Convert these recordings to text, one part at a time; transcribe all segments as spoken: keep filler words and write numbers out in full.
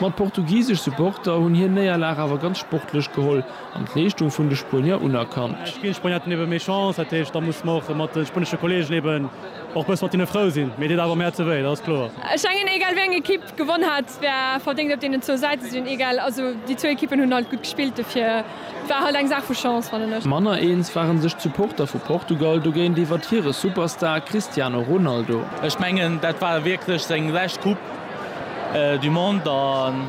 Ma d'portugisesch Supporter hunn hir Néierlag awer ganz sportlech geholl an d'Leeschtung vun de Spuenier unerkannt. D'Spuenier haten ebe méi Chance, dat heescht, da musse mer och mat de spuenesche Kolleegen eben och bësse mat hinne frou sinn. Mee deet awer am Häerze wéi, dat ass kloer. Ech mengen, egal wéi eng Ekipp gewonn hat, wär verdéngt op deenen zwou Säite ze sinn. Egal, also déi zwou Ekippen hunn halt gutt gespillt, dofir war halt eng Saach vu Chance, fannen ech. Manner eens ware sech d'Supporter vu Portugal dogéint iwwert hire Superstar Cristiano Ronaldo. Ech mengen, dat war wierklech seng lescht Coupe du Monde an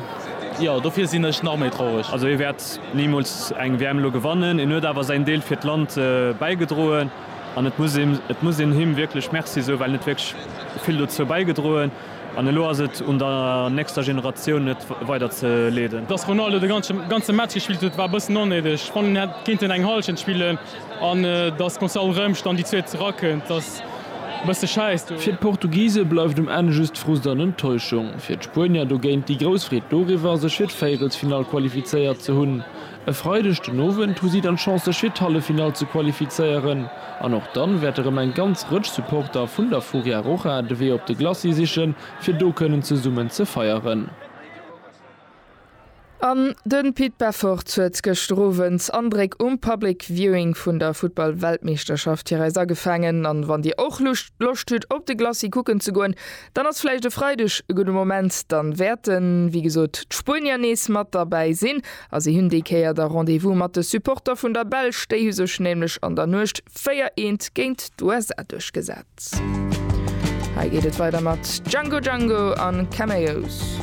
jo, dofir sinn ech nach méi traureg. Also hie wäert nimools eng W M elo gewannen, hien huet awer säin Deel fir d'Land bäigedroen an et muss een, et muss een him wierklech Merci soen, well en huet wierklech vill dozou bäigedroen an elo ass et un der nächster Generatioun et weider ze leeden. Dass Ronaldo de ganze Match gespillt huet war e bëssen onnéideg. Ech fannen en hätt kéinten eng Hallschent spillen an dass Gonçalo Ramos dann déi zweet erakënnt ass e bësse schäiss. Fir d'Portugise bleift um Enn just Frust an Enttäuschung. Fir d'Spuenier dogéint déi grouss Freed doriwwer, sech fir d'Véierelsfinall qualifizéiert ze hunn. E Freideg den Owend hu si dann d'Chance sech fir d'Halleffinall ze qualifizéieren. An och dann wäert erëm eng ganz Rëtsch Supporter vun der Furia Roja de Wee op de Glacis sichen, fir do kënnen zesummen ze feieren. An de Pit Beffort huet gëschter Owend Andréck um Public Viewing vun der Futtball-Weltmeeschterschaft fir eis agefaangen. An wann Dir och Loscht hutt op de Glacis kucken ze goen, dann ass vläicht e Freideg e gudde Moment. Dann wäerten, wéi gesot, d'Spuenier nees mat derbäi sinn. A si hunn déi Kéier da Rendez-vous mat de Supporter vun der Belsch. Déi hu sech nämlech an der Nuecht véier eent géint d'U S A duerchgesat. Hei geet et weider mat Django Django an Cameos.